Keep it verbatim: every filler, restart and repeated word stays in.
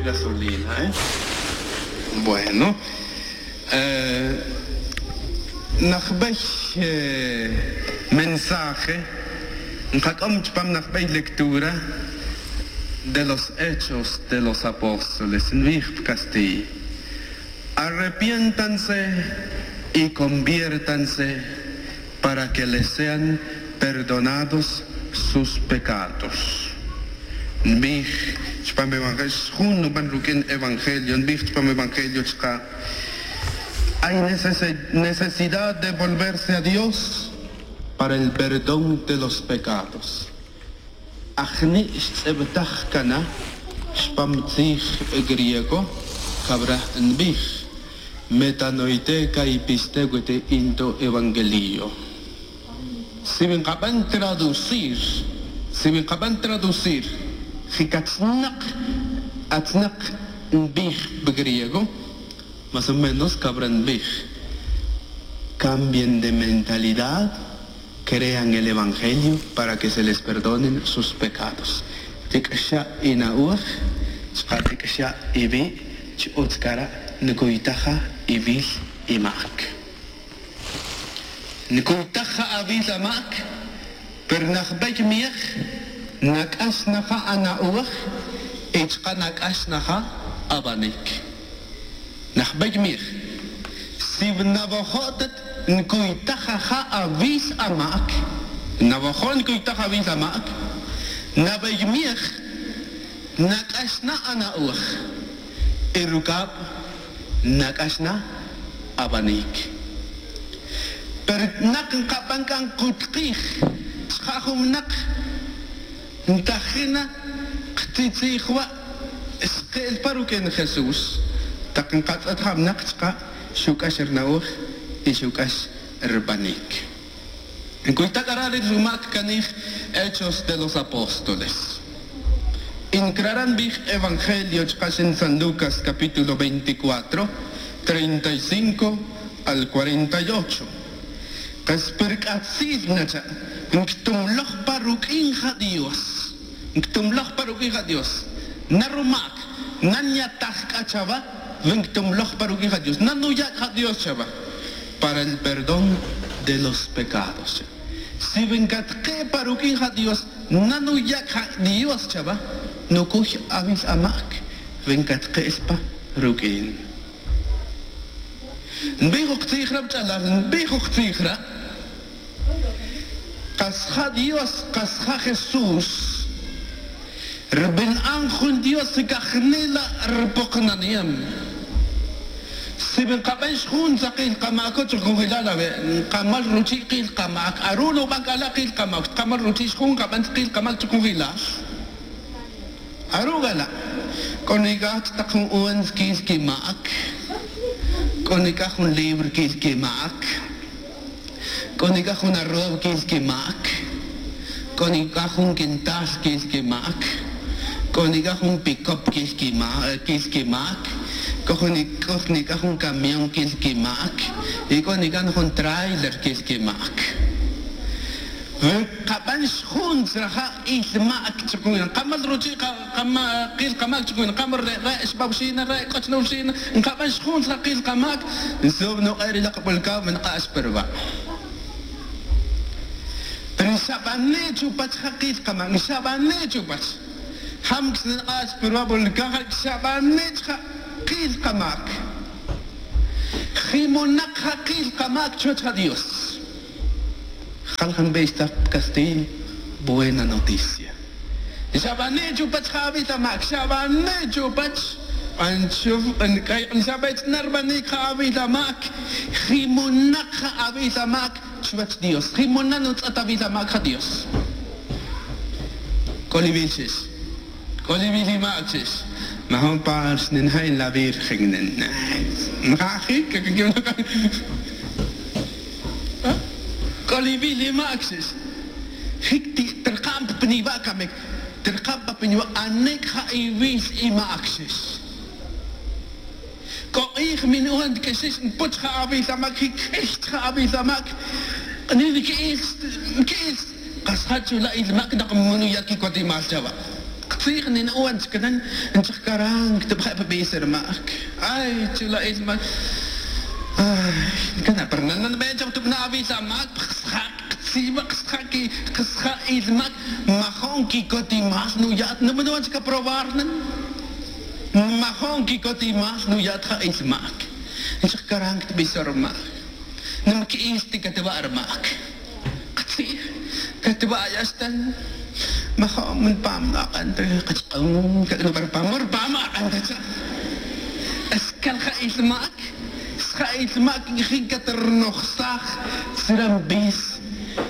Gasolina, ¿eh? Bueno. Eh, najbey, eh, mensaje nkac'om chupam najbey lectura de los Hechos de los Apóstoles, nbij pa castilla: "Arrepiéntanse y conviértanse para que les sean perdonados sus pecados", nbij chupam evangelio. Jun nuban ruq'uin evangelio, nbij chupam evangelio chka': "Hay necese-, necesidad de volverse a Dios para el perdón de los pecados". Ajni' xtz'ibtaj cana chupam tzij griego, cabra nbij: "Metanoite kai pisteuete into evangelio". Si wi nkaban traducir, si wi nkaban traducir, jic atznak, atznak nbij pa griego, más o menos cabra nbij: "Cambien de mentalidad, crean el evangelio para que se les perdonen sus pecados". Tic'xa' ina'oj, chka' tic'xa' iwi', chi utz cara' ncuytaja iwil i mac. Ncuytaja awil amac, pero najbey miej nac'ax naja ana'oj, y chka' nac'ax naja abanic. Najbey miej, si nawajo' ta ncuytaja awil amac, nawajo' ncuytaja awil amac, nabey miej nac'ax na ana'oj, y rucab nac'ax na abanic. Pero nak nkaban c'a nkutkij chka' jun winak, ntajin na ktzijtzij wa' xke'el pa ruq'uin Jesús. Tak nkatz'et jun winak chka' xuc'ax rina'oj y xuc'ax ribanic. Ncuyta c'a ra' ri rumac canij Hechos de los Apóstoles. Y ncrara' nbij evangelio chka' xin San Lucas capítulo veinticuatro, treinta y cinco al cuarenta y ocho. Kas pe rc'atzil na cha', nctumloj pa ruq'uin ja Dios. Nctumloj pa ruq'uin ja Dios. Na rumac, na nyataj c'a chawa, wi nctumloj pa ruq'uin ja Dios. Na nuya' c'a ja Dios chawa para el perdón de los pecados. Si wi ncatke' pa ruq'uin ja Dios, na nuya' c'a ja Dios chawa, nucuy awil amac, wi ncatke' pa ruq'uin. Nbij jun tzij ra' wach'alal, nbij jun tzij ra'. Kas ja Dios, kas ja Jesús, ribina'an jun Dios c'a jani' la' ripoknaniem. Si wi nkaben xjun tzakil kamaco chujunjilal awe', nkamal ruchi' kil kamac, aru' nuban c'a la' kil kamac, xtkamal ruchi' xjun nkaben tzakil kamac chujunjilal. Aru' c'a la', c'o nic'aj tak jun uva ntzquil quimac, c'o nic'aj jun libro quil quimac, c'o nic'aj jun arroz quil quimac, c'o nic'aj jun quintal quil quimac, c'o nic'aj jun picop quil quima-, quil quimac, c'o jun, c'o nic'aj jun camión quil quimac, y c'o nic'aj jun tráiler quil quimac. Wi nkaben xjun tzraja' il mac chukun, nkamal ruchi' ka-, kama-, kil kamac chukun, nkamal re', re' xba wixin, re' c'o chna wixin, nkaben xjun tzraja' kil kamac, nsubi nuk'e' ri lak' bulcao, wi nk'ax pe ruwa'. Pero nxabane' chupach ja kil kamac, nxabane' chupach. Jam ksnak'ax pe ruwa' bulcao, ja nxabane' chja kil kamac. Jimonak ja kil kamac chuwech ja Dios. Jal jan bey xta pa castilla, buena noticia. Xabane' chupach ja awil amac, xabane' chupach. Ban chuf, ban c'ay, xabech na rbanic ja awil amac. Jimonak ja awil amac chuwech Dios. Jimona' nutz'et awil amac ja Dios. C'o li wil xix. C'o li wil i mac xix. Majun pa xninja' in la Virgen. Njajic. C'o li wil i mac xix. Jic ti-, tirkam pa piniwa' camic. Tirkam pa piniwa', anic ja i wil i mac xix. C'o k'ij mi nu'un ta que xix npuch ja awil amac, jic q'uiy ja awil amac. Ni nqui'il, nqui'il. Kas ja chula' il mac nak munu ya' quicotimal chawa. Tzij nin uwan chkanan nchaj karan ktubje' pa b'is rma'k. Ay chula' ilma'k. Ay, kana' pero nananb'e chaj tub'na' awil ama'k pxsja'. Tzima' qsja' ilma'k. Majo'n kikotimal nuya'at numan uwan chka probar nan. Majo'n kikotimal nuya'at ja' ilma'k. Nchaj karan ktb'is rma'k. Nmk'is ti katwa' rma'k. Qtzij katwa' ya xtan. Majo'n man pam aq'an ta kachq'un kak'nu pero pam rpam aq'an ta cha'. Skalja' ilma'k. Sja' ilma'k nk'ijin katrnojsaj. Tzran b'is.